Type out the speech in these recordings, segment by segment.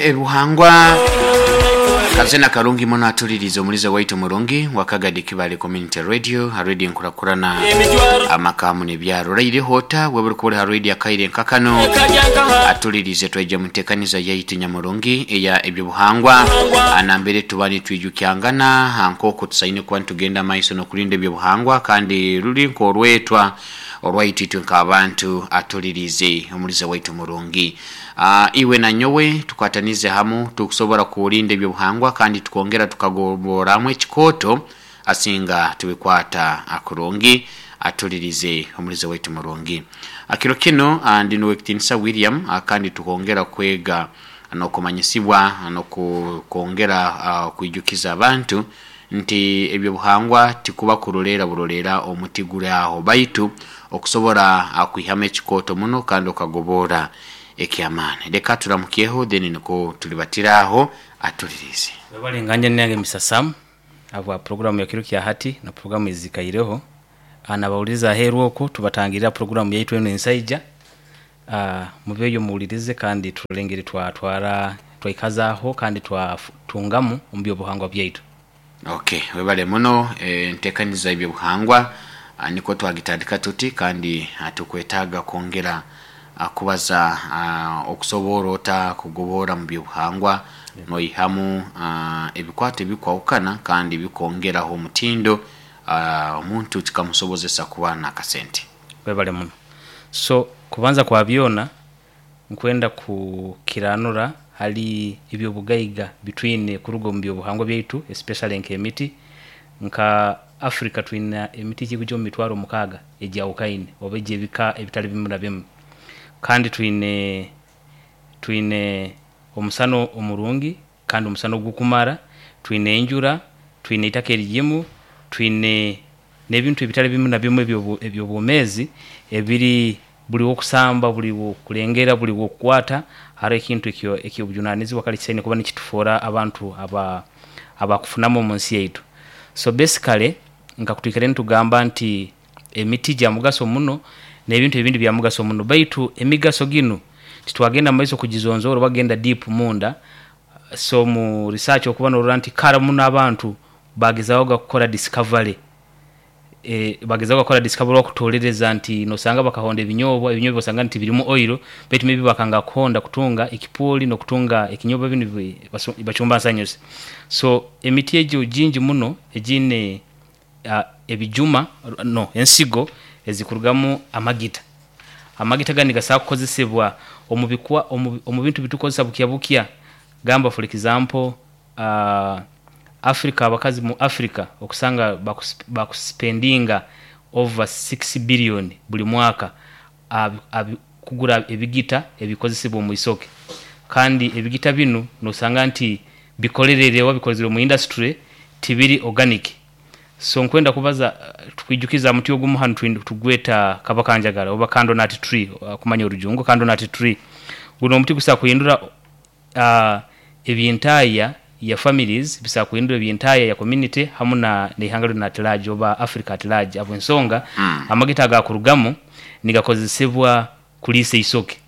Ebuhangwa kazina karungi muno atulirize omulize waitu murungi wa Kagadi Kibale Community Radio ha radio enkurakurana amaka hamu nebyaro raire hota weburi kuba ha radio akaire nkakano atulirize twaija mutekaniza yaitu nyamurungi eya ebyobuhangwa anambere tuba nitwijukyangana nk'oku tusaine kuba nitugenda maiso n'okurinda ebyobuhangwa kandi ruri nk'orwetwa orwaitu itwe nk'abantu atulirize omulize waitu murungi. Iwe na nyowe tukwatanize hamu tukusobora kurinda ebyobuhangwa kandi tukongera tukagoboramu ekikoto asinga tubikwata akurungi atulirize omulize waitu murungi. Akiro kino ndi nuwekitinisa William, kandi tukongera kwega n'okumanyisibwa n'okukongera kwijukiza abantu nti ebyobuhangwa tikuba kurorera burorera omuti guri aho baitu okusobora kwihamu ekikoto muno kandi okagobora ekyamaani. Leka turamukyeho then niko tulibatiraho atulirize. Webale nganje nange Mr. Sam habwa programu ya kiro kya hati na programu ezikaireho. Nabawuliriza aheeru okwo tubatangirira programu yaitu enu ensaija. Mubeeyo muwulirize kandi turole engeri twatwara twaikazaho kandi twatungamu omu byobuhangwa byaitu. Okay, webale muno entekaniza ebyobuhangwa niko twagitandika tuti kandi tukwetaaga kwongera kubaza okusobora ota kugobora mu byobuhangwa noihamu ebikwato ebikwahukana kandi bikwongeraho omutindo, omuntu kikamusobozesa kuba n'akasente. Webale muno. So kubanza kwa byona nkwenda kukiranura hali ebyobugaiga bitwine kuruga omu byobuhangwa byaitu, especially nk'emiti. Nka Africa twina emiti ekikugya omu mitwaro 6 egyawukaine oba egy'ebika ebitali bimu na bimu. Kandi twine omusana omurungi kandi omusana ogukumara, twine enjura, twine eitaka erigimu, twine n'ebintu ebitali bimu na bimu eby'obwomeezi ebiri buli w'okusamba, buli w'okulengera, buli w'okukwata haroho ekintu eky'obujunanizibwa kale kisaine kuba nikitufoora abantu abakufunamu omu nsi yaitu. So basically nka kutwikaire nitugamba nti emiti gya mugaso muno n'ebintu ebindi bya mugaso muno, baitu emigaso ginu titwagenda mu maiso kugizonzoora oba kugenda deep munda. So mu research okuba norora nti kara muno abantu bagezahoga kukora discovery, bagezahoga kukora discovery okutolereza nti nosanga bakahonda ebinyobwa, ebinyobwa osanga nti birimu oil, baitu maybe bakanga kuhonda kutunga ekipuli n'okutunga ekinyobwa binu bachumba nsanyusi. So emiti egyo gingi muno egiine ebijuma no ensigo ezikurugamu amagita. Amagita ganu nigasobola kukozesebwa omu bintu bitukozesa bukya bukya. Gamba for example, Africa, abakazi mu Africa okusanga bakuspendinga over 6 billion buli mwaka kugura ebigita ebikozesebwa omu isoke. Kandi ebigita binu nosanga nti bikolerere oba bikozerwe mu industry, tibiri organic. So nkwenda kubaza tukwijukiza muti ogumu hanu tugweta kabakanjagara oba candle nut tree, kumanya orujungu candle nut tree. Guno omuti gusobola kuhindura ebyentaya ya families, bisobola kuhindura ebyentaya ya community hamu n'eihanga lyona at large oba Africa at large, habw'ensonga amagita agakurugamu nigakozesebwa kuliisa eisoke.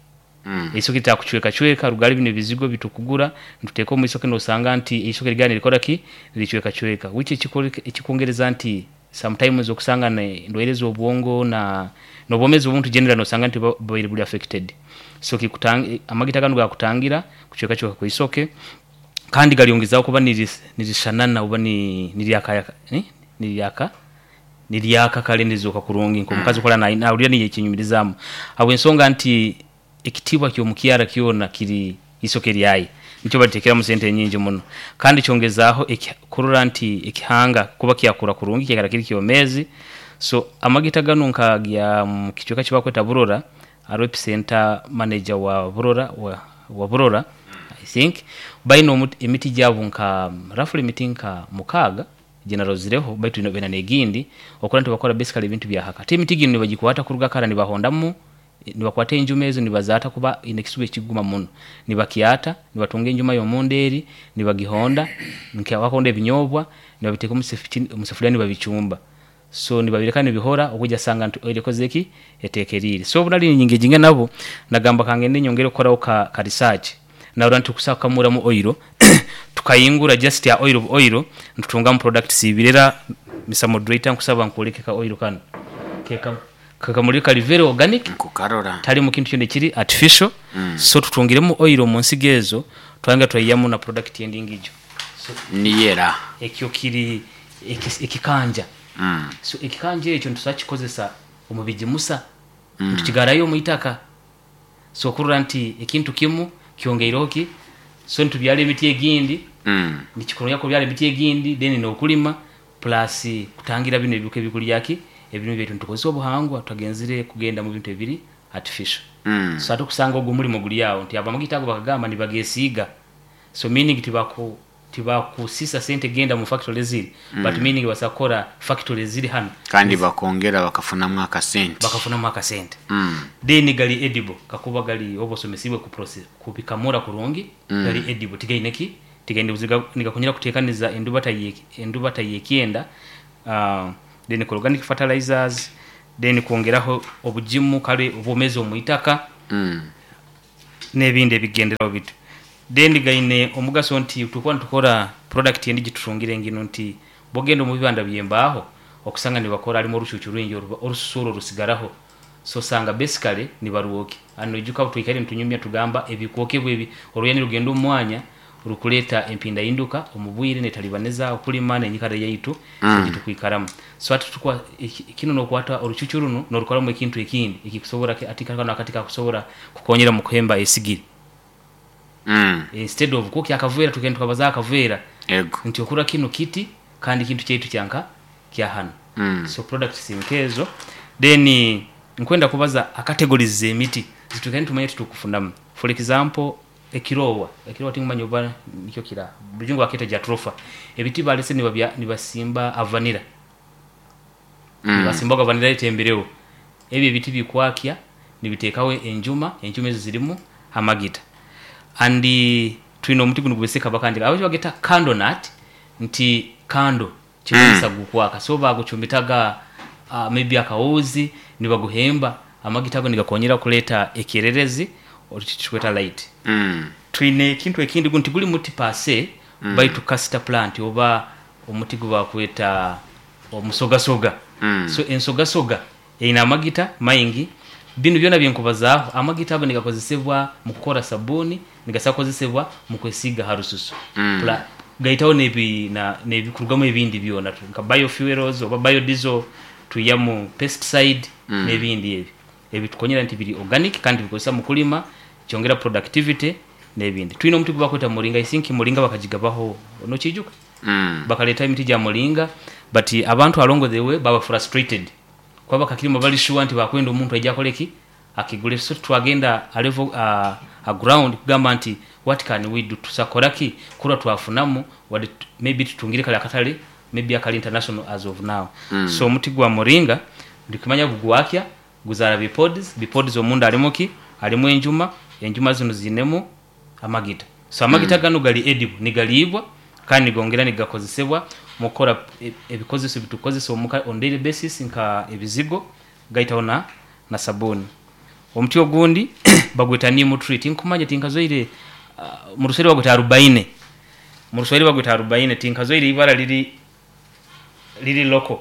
Eisoke litakucwekacweka rugali binu ebizigo bitukugura nituteeka omu isoke nosanga nti eisoke ligara nirikora ki? Niricwekacweka, which ekikwongereza nti sometimes okusanga endwaire ez'obwongo na n'obwomezi bw'omuntu generally nosanga nti bubaire buli affected. So amagita ganu gakutangira kucwekacweka kw'isoke kandi galyongezaho kuba nirishanana oba niryaka kale nirizooka kurungi nk'omukazi okurora nahurira niiwe ekyenyumirizaamu habw'ensonga nti ekitiibwa ky'omukyara kyona kiri isoke lyaye, nikyo baliteekeramu sente nyingi muno. Kandi kyongezaaho kurora nti ekihanga kuba kyakura kurungi kyaikara kiri kyomeezi. So amagita ganu nkagya mu kicweka ekibakweta Burora, haroho epicenter manager wa Burora, wa Burora I think, baine emiti gyabu nka roughly emiti nka 6 gyenarozireho, baitu baine n'egindi okurora nti bakora basically ebintu bya haka. Ate emiti ginu nibagikwata kuruga kara nibahondamu, nibakwata enjuma ezo nibazaata kuba eine ekisuba ekiguma muno. Nibakyata, nibatunga enjuma y'omunda eri, nibagihonda, nka bakuhonda ebinyobwa, nibabiteeka omu sefuliya nibabicumba. So nibabireka nibihora okwija sanga nti oil ekozire ki? Etekeriire. So obu nali ninyengejinga nabo, nagamba kangende nyongere kukoraho ka research. Narora nti tukusobola kukamuramu oil, tukahingura just ha oil bu oil nitutungamu products ibiri. Era Mister Moderator, nkusaba nkwoleke ka oil kanu. Kekamuli kali very organic. Nkukarora. Talimu kintu kyona ekiri artificial. So tutungiremu oil omu nsigo ezo, twayongera twaihamu na product endingijo. So Niyo era. Ekyo kiri ekikanja. So ekikanja ekyo nitusobola kukikozesa omu bigimusa, nitukigarayo omu itaka. So okurora nti ekintu kimu kyongeireho ki, so nitubyara emiti egindi, nikikurungi kubyara emiti egindi then n'okulima plus kutangira binu ebihuka ebikulya ki ebirime byaitu. Nitukozesa obuhangwa, tutagenzere kugenda mu bintu ebiri artificial. So ate okusanga ogu omulimo guli awo nti abo amagita ago bakagamba nibagesiiga, so meaning tibakusisa sente genda mu factory eziri, but meaning basobola kukora factory eziri hanu. Kandi bakongera bakafunamu akasente. Bakafunamu akasente. Then gali edible, kakuba gali oba osomesibwe kubikamura kurungi, gali edible, tigaine ki, tigaine buzibu, nigakonyera kutekaniza endubata y'ekyenda. Then organic fertilizers, then kwongeraho obugimu, kale obwomezi omu itaka, n'ebindi ebigenderaho bityo. Then gaine omugaso nti tukuba nitukora product endi gitutungire nginu nti bwogenda omu bibanda by'embaaho okusanga nibakora harimu orucucu rwingi orususu oru orusigaraho, so osanga basically nibarwokya. Hanu noijuka obu twikaire nitunyumya tugamba ebikwokebwa ebi oruya nirugenda omu mwanya rukuleeta empindahinduka omu bwire netalibaniza okulima n'enyikara yaitu egitukwikaramu. So hati kinu nokwata orucucu runu norukoramu ekintu ekindi ekikusobora, ati kanu akati kakusobora kukonyera mu kuhemba esigiri. Instead of kwokya akaveera, tugenda tukabaza akaveera. Ego. Nti okura kinu kiti kandi kintu kyaitu kyanka kya hanu. So products nkezo. Then nkwenda kubaza categories z'emiti zitwikaire nitumanya titukufunamu. For example, ekirowa, ekirowa tingumanya oba nikyo kira murujungu baketa jatropha. Ebiti balese nibasimba avanira. Nibasimbaga vanira etembereho. Ebyo ebiti bikwakya nibitekaho enjuma, enjuma ezo zirimu amagita. And twine omuti gunu gweseka bakandi abajo bageta candle nut, nti candle kimanyisa gukwaka. So bagucumitaga maybe akawuzi nibaguhemba, amagita ago nigakonyera kuleta ekyererezi tukweta light. Twine ekintu ekindi, guno tiguli muti per se, baitu castor plant oba omuti gubakweta omusogasoga. So ensogasoga eine amagita maingi. Binu byona byenkubazaho, amagita ago nigakozesebwa mu kukora sabuni, nigasobola kukozesebwa mu kwesiga ha rususu. Gaitaho n'ebikurugamu ebindi byona nka biofuels oba biodiesel, twihamu pesticide n'ebindi ebyo ebitukonyera nti biri organic kandi tubikozesa mu kulima, kyongera productivity n'ebindi. Twine omuti gubakweta muringa, I think muringa bakagigabaho, nokiijuka? Bakaleta emiti gya muringa, but abantu along the way baba frustrated kuba bakakirima bali sure nti bakwenda omuntu aija akole ki, akigule. So twagenda a level a ground kugamba nti what can we do, tusakora ki kurwa twafunamu wadde maybe tutungire kale akatale maybe akali international as of now. So omuti gwa muringa ndikimanya gugwakya, guzara bipods, bipods omunda harimu ki, harimu enjuma, enjuma zinu zinemu amagita. So amagita ganu gali edible, nigaliibwa kandi nigongera nigakozesebwa mu kukora ebikozeso ebitukozesa omuka on daily basis nka ebizigo, gaitaho na sabuni. Omuti ogundi bagweta neem tree, tinkumanya, tinkazoire, mu Ruswahili bagweta arobaine. Mu Ruswahili bagweta arobaine, tinkazoire ibara liri local,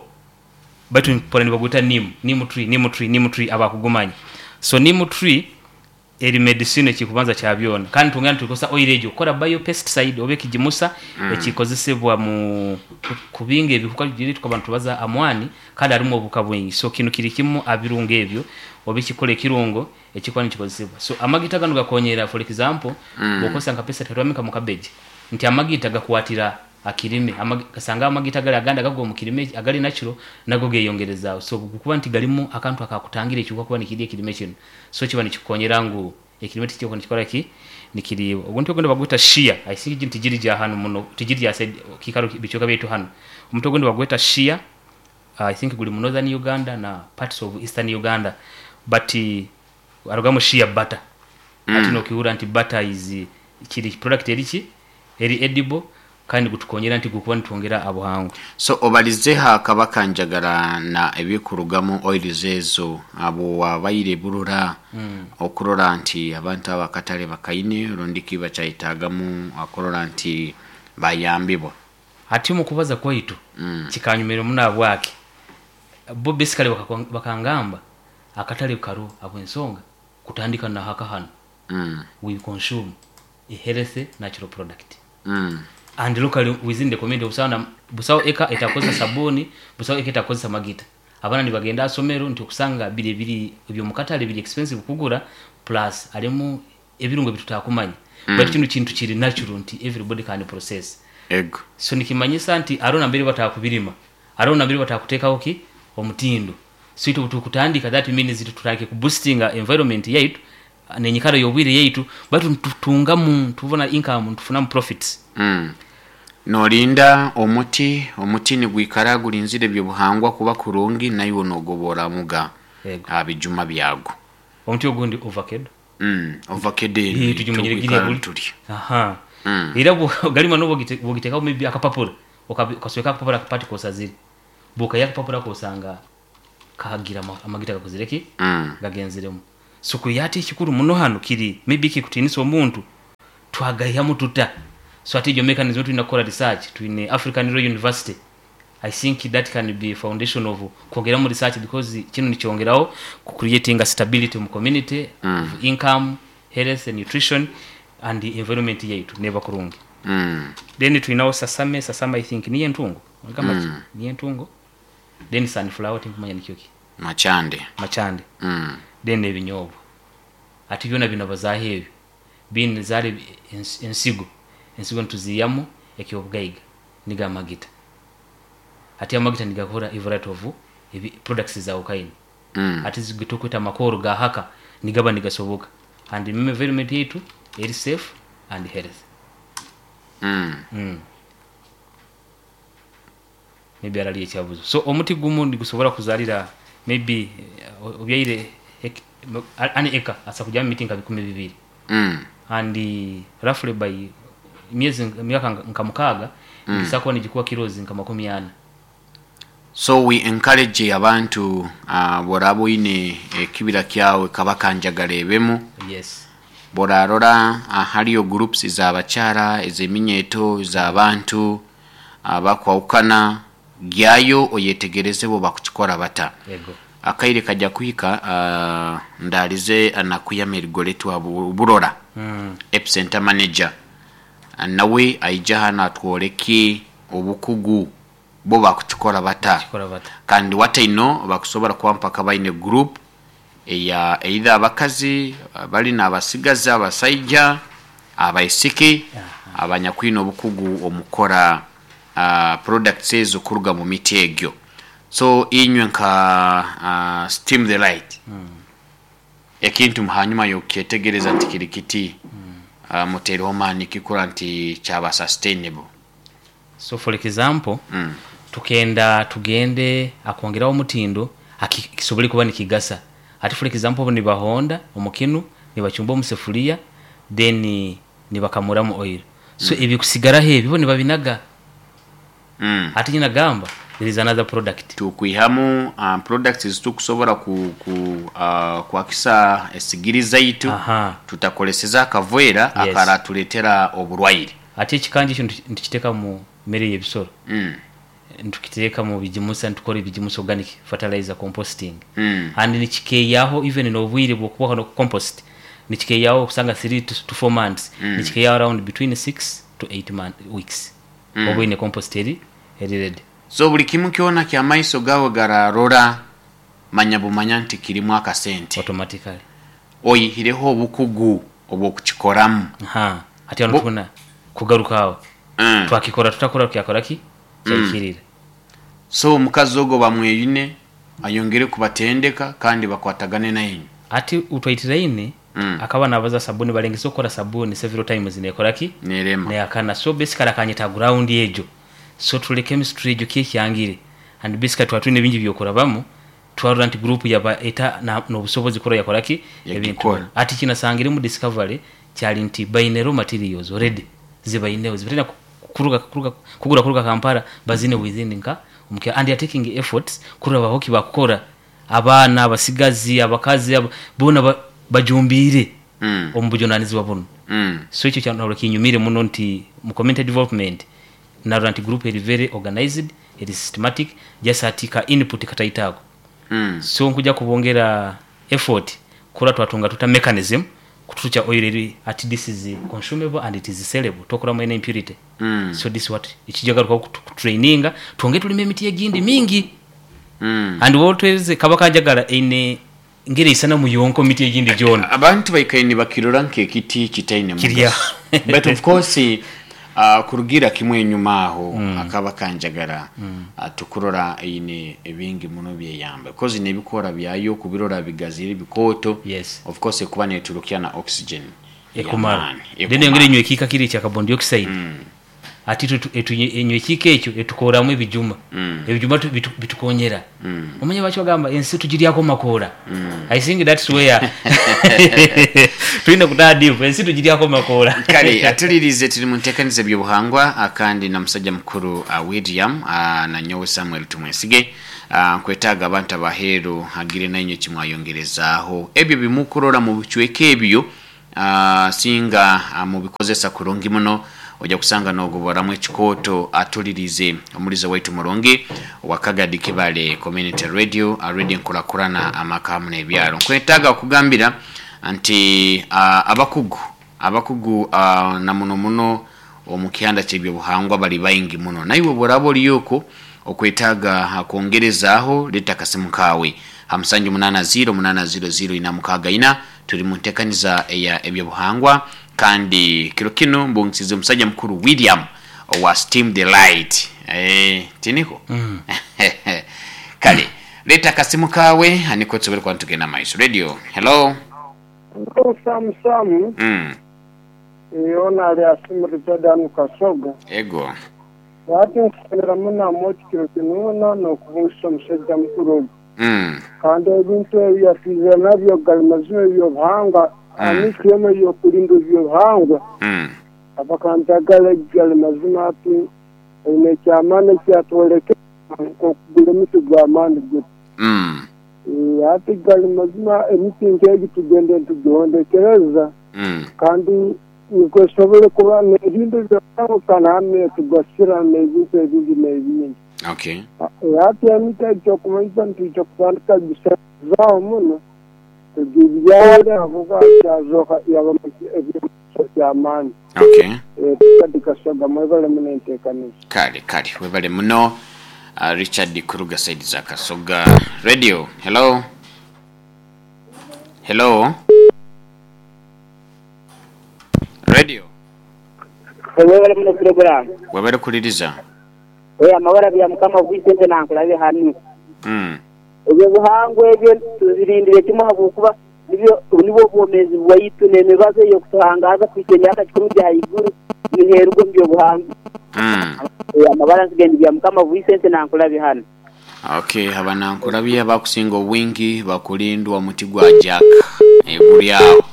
baitu mpora nibagweta neem, neem tree, neem tree, neem tree abakugumanya. So neem tree eri medicine ekikubanza kya byona, kandi twongera nitukozesa oil egyo kukora biopesticide oba ekigimusa ekikozesebwa mu kubinga ebihuka biri tukaba nitubaza amwani, kandi harimu obuhuka bwingi. So kinu kiri kimu abirungo ebyo oba ekikora ekirungo ekikuba nikikozesebwa. So amagita ganu gakonyera, for example, bwokozesa nka pesticide katwame mu cabbage, nti amagita gakwatira akirime, kasanga amagita gali agandi agagwa omu kirime agali natural nago geyongerezaaho. So kuba nti galimu akantu akakutangira ekihuka kuba nikirya ekirime kinu, so kiba nikikukonyera ngu ekirime tikyokuba nikikora ki, nikiriibwa. Oguntu ogundi bagweta shea, I think ginu tigiri gya hanu muno, tigiri gya side kikaro bicweka byaitu hanu. Omuti ogundi bagweta shea, I think guli mu northern Uganda na parts of eastern Uganda, but harugamu shea butter. Ati nokihurra nti butter is kiri product eri ki, eri edible. Kandi gutukonyera nti gukuba nitwongera abuhangwa. So obalizeho akabaka njagala na ebikurugamu oils ezo abo wabaire burora okurora nti abantu abakatale bakaine rundi ki bakyayetagamu akurora nti bayambibwa. Hati omu kubaza kwaitu kikanyumira muno abwaki bo basically bakangamba akatale karo abwensonga kutandika na haka hano we consume a healthy natural product and locally within the community. Busawo busawo eka etakozesa sabuni, busawo eka etakozesa magita. Abaana nibagenda asomero nti okusanga biri biri ebyomukatale biri expensive kugura, plus alimu ebirungo bitutakumanya, but kino kintu kiri natural nti everybody can process. Ego. So nikimanyisa nti aro nambere batakubirima, aro nambere batakuteekaho ki omutindo. So itwe tukutandika, that means tutandike kuboostinga environment yaitu nenyikara y'obwire yaitu, batu tutungamu, tubona income, tufunamu profits. Nolinda omuti nigwikara gulinzire ebyobuhangwa kuba kurungi, naiwe nogoboramuga Yego. Bijuma byago. Omuti ogundi ovacado. Ovacado. Ii, tujumanyire giri buli. Tuli. Aha. Era galima nobo bwogitekaho maybe akapapura, okasweka akapapura akapati kosazire, bwokaya akapapura kosanga kahagira amagita gakozire ki gagenzeremu. So kuyati ekikuru muno hano kiri maybe kikutinisa omuntu twagayamu tuta. So ati ejo mechanism tulina kukora research. Twine African Royal University. I think that can be foundation of kwongeramu research, because kino nikyongeraho ku creating a stability mu community of income, health and nutrition, and the environment yaitu neba kurungi. Then tulinawo sesame. Sesame I think niye entungo. Ngamba niye entungo. Then sunflower tinkumanya nikyo ki. Machande. Machande. Then ebinyobwa ati byona bino bazaho ebyo bini zari ensigo nituziyamu ekyobugaiga niga amagita. Ati amagita nigakora a variety of products za ukaini. Ati zigitukwita amakoro ga haka nigaba nigasoboka, and environment yaitu eri safe and healthy. Maybe arali ekyabuzo. So omuti gumu nigusobola kuzalira maybe obyaire ani eka asa kujamu miti nka 20,000. And roughly by miezi miaka nka 6 ngisakuba nigikuwa kilozi nka 40. So we encourage abantu boraba oine ekibira kyawe kabaka njagala ebemu. Yes. Borarora hariyo groups z'abakyara, ez'eminyeto, z'abantu abakwawukana, gyayo oyetegereze bo bakukikora bata. Yego. Akaire kajja kuhika ndalize anakuyama erigoletwa burora epicenter manager nawe aija hano atworeke obukugu bo bakukikora bata. Kikora bata. Kandi wataino bakusobora kuba mpaka baine group eya either abakazi bali n'abasigazi, abasaija, abaisiki abanyakwine obukugu omukora products ezo kuruga mu miti egyo. So inywe nka Steam the Light ekintu hanyuma yokyetegereza nti kiri kiti mutereho maani kikura nti kyaba sustainable. So for example tukenda tugende akwongeraho omutindo kisobole kuba nikigasa. Ati for example bo nibahonda omukinu, nibachumba omusefuria, then nibakamuramu oil. So ebikusigaraho ebyo bo nibabinaga. Ati nyina gamba there is another product. Tukwihamu products zitukusobora ku kwakisa esigiri zaitu. Tutakoleseza akavera akaratuletera oburwaire. Ati ekikanja ekyo ntukiteeka mu mmere y'ebisoro. Ntukiteeka mu bigimusa, ntukora ebigimusa organic fertilizer composting. And nikikeyaho even n'obwire bw'okubaho no compost nikikeyaho okusanga 3 to 4 months. Nikikeyaho around between 6 to 8 weeks oba oyine compost eri ready. So buli kimu kyona kyamaiso gawe gararora, manya bumanya nti kirimu akasente. Automatically. Oyihireho obukugu obwokukikoramu. Aha, ati hano tubona kugaruka aho twakikora tutakora kyakora ki kyayikirira. So omukazi ogwo bamweyine ayongere kubatendeka kandi bakwatagane naye. Ati utwaitiraine akaba nabaza sabuni, balengesa okukora sabuni several times nekora ki nerema. Neyakana. So basically akanyeta ground ejo, so tule chemistry ejo kyekyangire, and basically twatwine bingi byokurabamu, twarora nti group yaba eta n'obusobozi kora yakora ki ebintu. Yagikora. Ati kinasangire mu discovery kyali nti baine raw materials already, zibaineho zibatena. kuruga kuruga kugura kuruga Kampala bazine within nka omukyaro, and they are taking efforts kurora bahoki bakukora abaana, abasigazi, abakazi, boona bajumbiire omu bujunanizibwa bunu. So ekyo kyanarora kinyumire muno nti mu community development narora nti group eri very organized, eri systematic, just ati ka input kataito ako. So nkuja kubongera effort kurora twatunga tuta mechanism kuturukya oil eri ati this is consumable and it is sellable, tokoramu any impurity. So this what ekijagarukaho kutraininga twongere tulime emiti egindi mingi. And wotweze kaba kanjagala eine ngeri isanamu yonka miti egindi gyona. Abantu baikaire nibakirora nk'ekiti kitaine Kirya. mugaso, but of course kurugira kimwe enyuma aho akaba kanjagara, tukurora eine ebingi muno byeyamba because nebikora byayo kubirora bigazire bikooto. Of course ekuba neturukya na oxygen ekumara y'amaani, then ekumara. Yongera enywa ekiika kiri ekya carbon dioxide, ati enywa ekiika ekyo etukoramu ebijuma. Ebijuma bitukonyera. Omanye baki bagamba ensi tugiryako makoora. I think that's where tulina kutaha deep, ensi tugiryako makoora. Kale atulirize, tuli mu nteekaniza ebyobuhangwa, kandi na musajja mukuru William, na nyowe Samuel Tumwesige. Nkwetaaga abantu abaheeru agire nainywe kimwayongerezaaho ebyo bimukurora mu bicweka ebyo, singa mubikozesa kurungi muno ojja kusanga nogoboramu ekikooto. Atulirize omulizo waitu murungi wakagadi Kibale Community Radio, radio nkurakurana amaka hamu n'ebyaro. Nkwetaaga okugambira nti abakugu na muno muno omu kihanda ky'ebyobuhangwa bali baingi muno, naiwe bworaba oliyoko okwetaaga kwongerezaaho, leeta akasimu kaawe ha 780800464. Tuli mu nteekaniza eya ebyobuhangwa, kandi kiro kino mbungisize omusajja mukuru William owa Steam the Light, tiniko. Kale leeta akasimu kawe aniko tusobole kuba nitugenda maiso. Radio, hello. Samu Samu. Ona ali asimu Richard anu Kasoga. Ego. Ati nkusenera muno amoti kiro kinuna n'okubungisa omusajja mukuru ogu. Kandi ebintu ebi yatwize nabyo gali mazima ebyobuhangwa, amikiremu ebyokulinda ebyobuhangwa. Abakanjagala gali mazima, ati eine ekyamaani ekyatwoleke nk'okugura emiti gw'amaani guti. Ati gali mazima, emiti nk'egi tugende nitugihondekereza kandi nikwo esobole kuba n'ebintu byona hamwe tugasira n'ebintu ebindi n'ebindi. Ati emiti egi kyokumanyisa nitwija kutandika gisazaho muno tugibyare avuga kyazoka yaba ebyomuso kyamaani. Tukadi Kasoga, mwebale muno enteekaniza. Kale kale, webale muno Richard kuruga side za Kasoga. Radio, hello, hello, radio. Webale muno program. Webale kuliriza. Amabara bya Mukama bwisente nankulabe hanu. Ebyo buhangwa ebyo tuzirindire kimwe habwokuba nibyo nibwo obwomezi bwaitu n'emibazo ey'okutuhangaza kuhika emyaka 10 gya haiguru niheerugwa omu byobuhangwa. Amabara nsigende bya Mukama bwisente nankulabe hanu. Okay, abanankulabye abakusinga obwingi bakulindwa omuti gwa jack guli awo,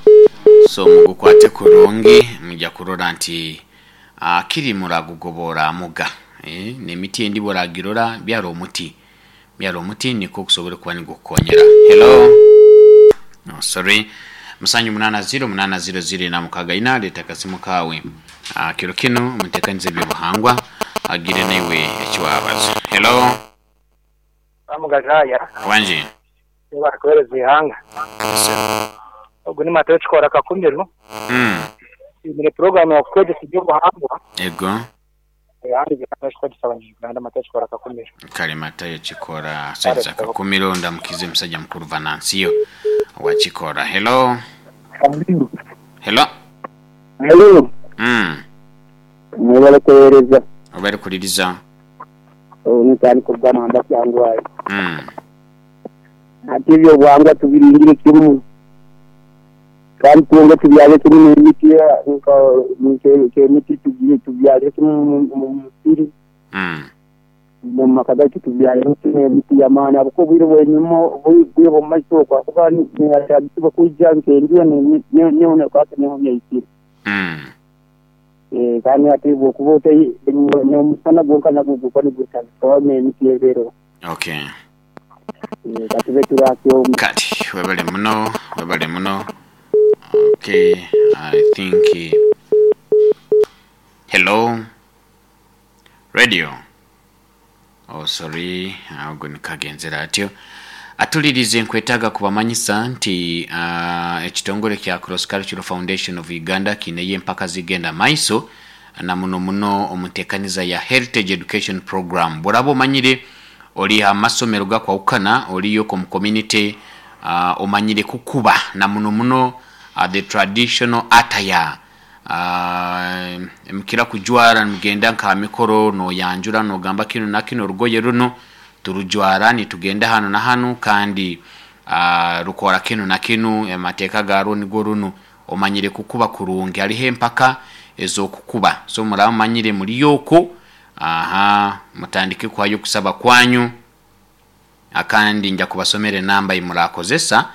so mugukwate kurungi, mujja kurora nti kiri muragugobora muga, n'emiti endi boragirora byara omuti, byara omuti niko okusobora kuba nigukukonyera. Hello, no, sorry, 780800464, leta akasimu kawe. Kiro kino mutekanize ebyobuhangwa agire naiwe ekiwabaza. Hello. Amugajaya. Wanje. Barakuhereza ihanga. Ogu ni Matayo Kikora Kakumiru. Imire program ya kukwegesa ebyobuhangwa. Ego. Ahandi bikashwa Abanyarwanda, Matayo Kikora Kakumiru. Kale Matayo Kikora saiza Kakumiro, ndamukize musajja mukuru Vanansiyo wa Kikora. Hello, hello. Hello. Mwebale kuhereza. Obere kuliriza. Nitani kubwana ndakyangwaye. Ati ebyobuhangwa tubirindire kimu kandi twonge tubyale kimu n'emiti nk'emiti tugiye tubyale kimu mu musiri mu maka gaitu tubyale kimu emiti y'amaani ahabwokuba obwire bwenyuma obwire bw'omu maiso okwo akuba niyatandikibwa kwija nk'enjura neho nekwata neho byaikire. Kandi hati bwokuba otai n'omusana gwonka nagwo gukuba nigwetagisa n'emiti ebeereho. Okay. Katube turakyo. Kati webale muno, webale muno. Okay, I think hello radio. Oh sorry, ago nikagenzera atyo. Atulirize nkwetaaga kubamanyisa nti ekitongole kya Cross Cultural Foundation of Uganda kiineyo empaka zigenda maiso na muno muno omu nteekaniza ya Heritage Education Program. Bworaba omanyire ori ha masomero gakwahukana, oriyo omu community, omanyire kukuba na muno muno the traditional attire, mukira kujwara nimugenda nka ha mikoro noyanjura nogamba kinu na kinu, orugoye runu turujwara nitugenda hanu na hanu kandi rukora kinu na kinu, amateeka garwo nigo runu, omanyire kukuba kurungi. Hariho empaka ez'okukuba, so muraba mumanyire muri okwo, aha mutandike kuhayo okusaba kwanyu, akandi nja kubasomera enamba yimurakozesa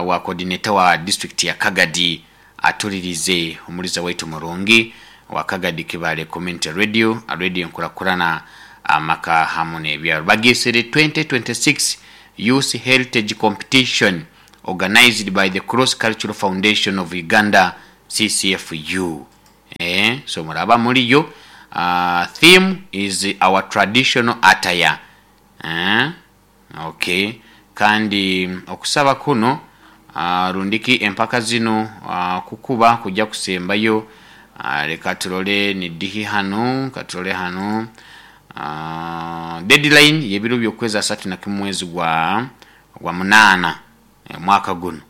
wa coordinator wa district ya Kagadi atulirize omuliza waitu murungi wa Kagadi Kibale Community Radio, radio enkurakurana amaka hamu n'ebyaro. Bagesere 2026 Youth Heritage Competition organized by the Cross Cultural Foundation of Uganda CCFU. So muraba muriyo, theme is our traditional attire. Okay. Kandi okusaba kuno rundiki empaka zino kukuba kujja kusembayo, leka turole nidihi hanu, katulole hanu. Deadline y'ebiro by'okwezi asatu na kimwe mwezi gwa 8 mwaka guno.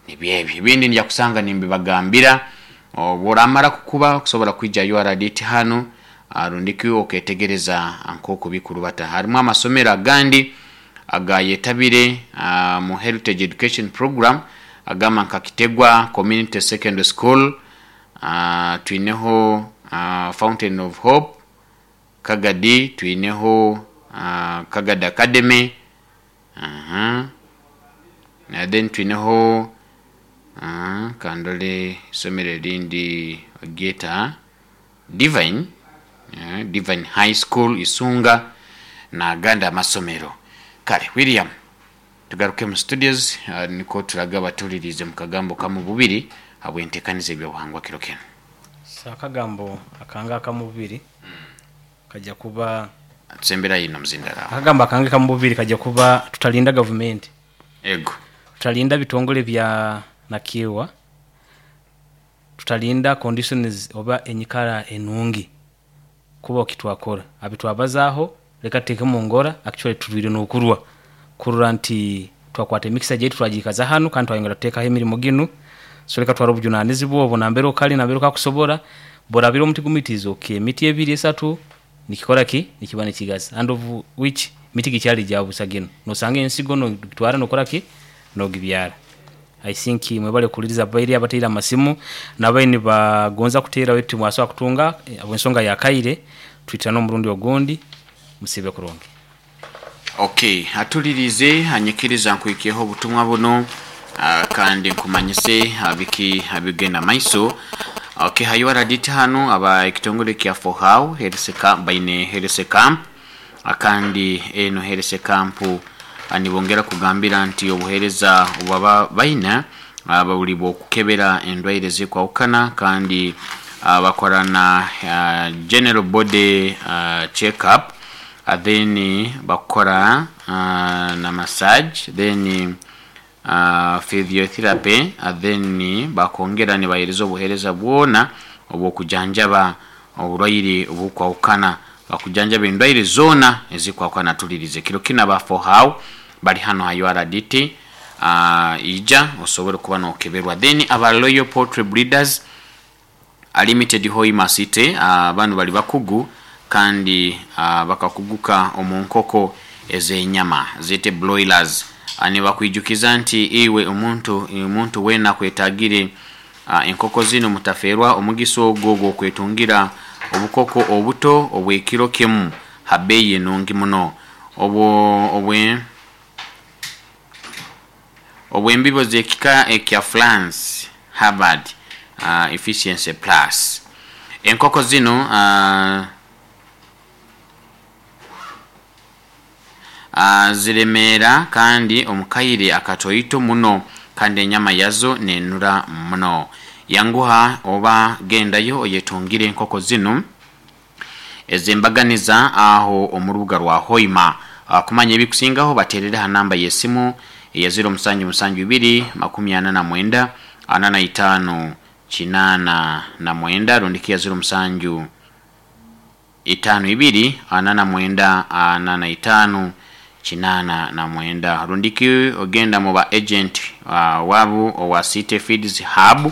Nibyebyo ebindi nja kusanga nimbibagambira. Bworamara kukuba kusobola kwija URDT hano, rundiki oketegereza nk'oku bikurubata. Harimu amasomero agandi agayetabire mu Heritage Education Program agamba nka Kitegwa Community Secondary School, twineho Fountain of Hope Kagadi, twineho Kagadi Academy, na then twineho kandole isomero erindi geta Divine, Divine High School Isunga n'agandi amasomero. Kale William, tugaruke mu studios, niko turaga batulirize mu kagambo kamu bubiri habwentekaniza ebyobuhangwa kiro kino. Akagambo akanga akamubiri kajja kuba tusembera yino muzindara. Akagambo akanga akamubiri kajja kuba tutalinda government. Ego. Tutalinda bitongole bya nakiwa. Tutalinda conditions oba enyikara enungi kuba okitwakora. Abitwabazaho leka teke mu ngora actually tulwire n'okurwa. Kurura nti twakwata emikisa gyetu twagikaza hano kandi twayongera tutekaho emirimo ginu. So leka twara obujunanizibwa obwo nambere okali nambere okakusobora borabira omuti gumitizo ke emiti ebiri esatu nikikora ki nikiba nikigaza and of which miti gikyali gyabusa gino nosanga ensigo no twara nokora ki nogibyara. I think mwebale kuliriza bairi abateera amasimu nabaini bagonza kuteera wetu mwaswa kutunga ensonga ya kaire twitana omurundi ogundi musibe kurungi. Okay, atulirize anyikiriza nkwikeho obutumwa buno, kandi nkumanyise abiki abigenda maiso. Okay, hayo araditi hano aba ekitongole kya Fohau Health Camp baine Health Camp, akandi eno Health Camp anibongera kugambira nti obuhereza obaba baina ababuli bwokukebera endwaire zikwawukana kandi bakorana general body check up, then bakora na massage, then physiotherapy, then bakongera nibahereza obuhereza bwona obwokujanjaba oburwaire obukwawukana, bakujanjaba endwaire zona ezikwawukana. Tulirize kiro kina ba Fohau bali hano ha URDT, ija osobole kuba nokeberwa. Then aba Royal Poultry Breeders Limited Hoima City, bano bali bakugu kandi bakakuguka omu nkoko ez'enyama zete broilers. Nibakwijukiza nti iwe omuntu wena kwetagire enkoko zino mutaferwa omugiso ogwo gw'okwetungira obukoko obuto obw'ekiro kimu ha bbeeyi enungi muno. Obw'embibo z'ekika ekya France Harvard Efficiency Plus. Enkoko zinu ziremeera kandi omu kaire akatoito muno kandi enyama yazo nenura muno. Yanguha oba gendayo oyetungire enkoko zinu ez'embaganiza aho omu rubuga rwa Hoima. Kumanya ebikusingaho baterere ha namba y'esimu eya 0772 49 45 89 rundi ki ya 07 52 49 45 89 rundi ki ogenda mu ba agent wabu owa City Feeds Hub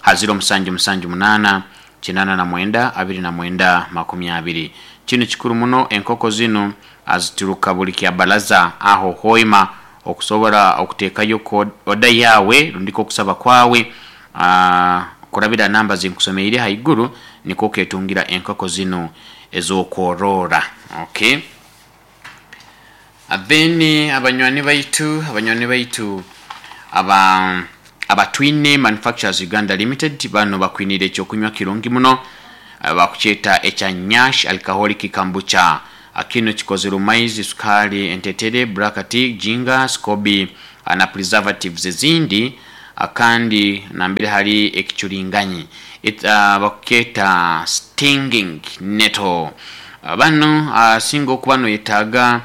ha 0778 89 29 20. Kinu kikuru muno, enkoko zinu azituruka buli kyabalaza aho Hoima okusobora okutekayo oda yawe rundi ko okusaba kwawe kurabira namba zinkusomeire haiguru, nikwo oketungira enkoko zinu ez'okworora. Okay, then abanywani baitu aba Abatwine Manufacturers Uganda Limited bano bakwinire ekyokunywa kirungi muno, bakukyeta ekya Nyash Alcoholic Kombucha. Kino kikozere maizi, sukari, entetere, black tea, ginger, scoby na preservatives ezindi, kandi nambere hari ekicuringanyi bakukyeta stinging nettle. Bano singa okuba noyetaaga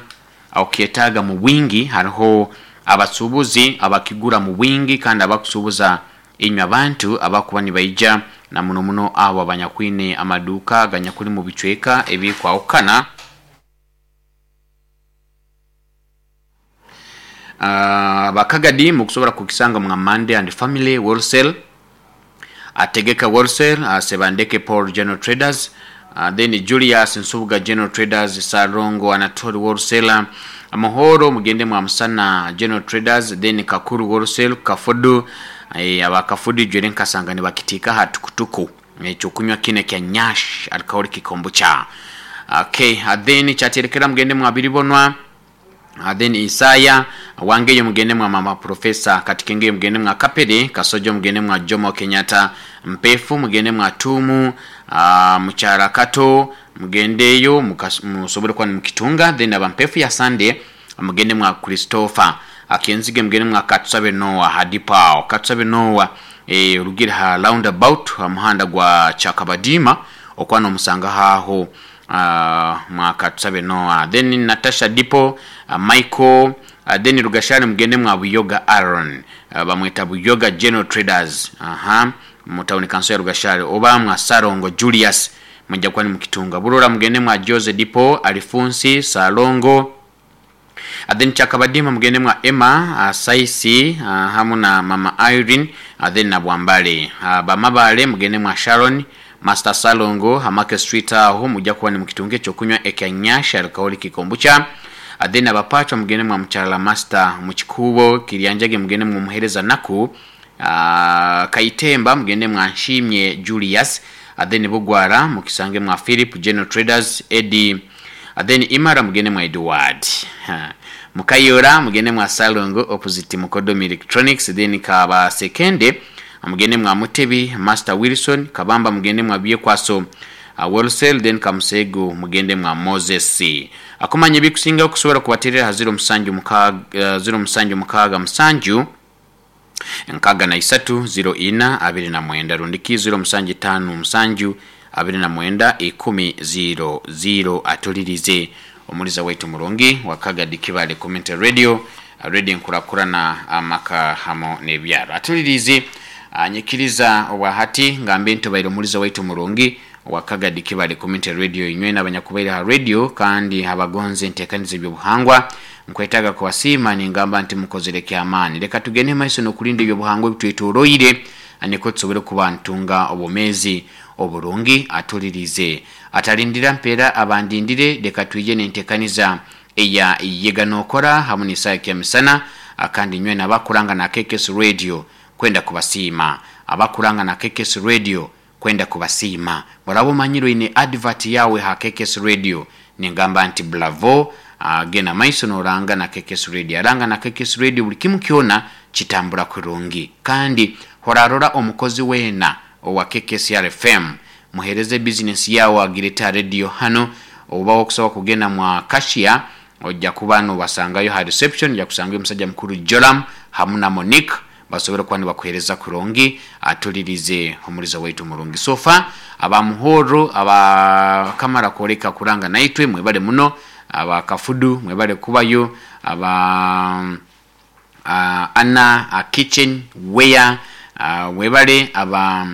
okyetaaga mu bwingi, hariho abasuubuzi abakigura mu bwingi kandi abakusuubuza inywe abantu abakuba nibaija na muno muno abo abanyakwine amaduuka ganyakuli mu bicweka ebikwahukana. Bakagadi mukusobora kukisanga mwa Monday and Family Wholesale, Ategeka Wholesale, Sebandeke Paul General Traders, then Julius Nsubuga General Traders, Sarongo Anatoli Wholesaler, Muhoro mugende mwa Musana General Traders, then Kakuru Wholesale, Kafudu, abakafudu jwere nkasanga nibakitika hatukutuku ekyokunywa kine kya Nyash Alcoholic Kombucha. Okay, then kyaterekera mugende mwa Biribonwa, then Isaya wangeyo mugende mwa mama Professor Katikenge, mugende mwa Kapere Kasojo, mugende mwa Jomo Kenyatta Mpefu, mugende mwa Tumu, Muchara Kato, mugendeyo musobole kuba nimukitunga. Then aba Mpefu ya Sunday mugende mwa Christopher Akenzige, mugende mwa Katsabe Noah Hadipao Katsabe Noah, rugira ha roundabout ha muhanda gwa Chakabadima okwana omusanga haho mwa Katsabe Noah. Then Natasha Dipo, Michael, then Rugashani mugende mwa Buyoga Aaron, bamweta Buyoga General Traders, mu town council ya Rugashari, oba mwa Sarongo Julius mujja kuba nimukitunga. Burora mugende mwa Jose Dipo, Alifunsi Salongo, then Chakabadima mugende mwa Emma, Saisi, hamu na mama Irene, then na Bwambale. Bamabale mugende mwa Sharon Master Salongo Hamake Street aho mujja kuba nimukitunga ekyokunywa ekya Nyash Alcoholic Kombucha. Then abapachwa mugende mwa Mchala Master Mukikubo Kiryanjage, mugende mwa Muhereza Naku, Kaitemba mugende mwa Nshimye Julius, then Bugwara mukisange mwa Philip General Traders Eddie, then Imara mugende mwa Edward, Mukayora mugende mwa Salongo opposite Mukodomi Electronics, then Kaba Sekende mugende mwa Mutebi Master Wilson, Kabamba mugende mwa Byekwaso Wholesale, then Kamusego mugende mwa Moses. Akumanya ebikusinga okusobola kubaterera ha 07 06 7 63 04 29 rundiki 0757 29 10 00. Atulirize omuliza waitu murungi wakagadi Kibale Community Radio, radio nkurakurana amaka hamo n'ebyaro. Atulirize anyikiriza obwahati ngambe ntubaire omuliza waitu murungi wakagadi Kibale Community Radio, inywe n'abanyakubaire ha radio kandi abagonze enteekaniza ebyobuhangwa. Nkwetaaga kubasiima ningamba nti mukozere kyamaani. Leka tugende maiso n'okulinda ebyobuhangwa ebitwetoroire niko tusobole kuba ntunga obwomeezi oburungi. Atulirize atalindira mpeera abandindire, leka twije n'enteekaniza eya yega n'okora hamu n'esaaha kyamisana, kandi inywe n'abakuranga na KKS Radio kwenda kubasiima, abakuranga na KKS Radio kwenda kubasiima. Muraba omanyire oine advert yawe ha KKS Radio, ningamba nti bravo, genda maiso noranga na KKS Radio, aranga na KKS Radio buli kimu kyona kitambura kurungi kandi Horarora omukozi weena owa KKCR FM, muhereze bizinesi yawe agirete ha radio hanu. Oba okusobola kugenda mwa Kashia, ojja kuba nobasangayo ha reception, ojja kusangayo omusajja mukuru Joram hamu na Monique, basobole kuba nibakuhereza kurungi. Atulirize omuliza waitu murungi. Sofa aba Muhoro abakamara kwoleka kuranga naitwe, mwebale muno. Aba Kafudu mwebale kubayo. Aba Anna Kitchen Ware webale. Aba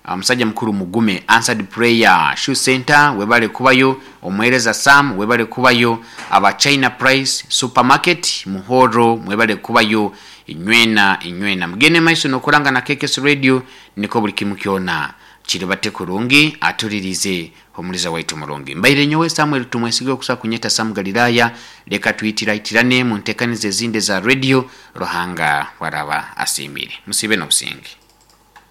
omusajja mukuru Mugume Answered Prayer Shoe Center webale kubayo. Omuhereza Sam webale kubayo. Aba China Price Supermarket Muhoro mwebale kubayo. Inywena inywena mugende maiso nokuranga na KKS Radio, niko buli kimu kyona kiribate kurungi. Atulirize omuliza waitu murungi. Mbaire nyowe Samuel Tumwesige, okusa kunyeta Sam Galilaya. Leka tuitiraitirane mu ntekanizo ezindi za radio, Ruhanga waraba asiimire. Musibe n'obusinge.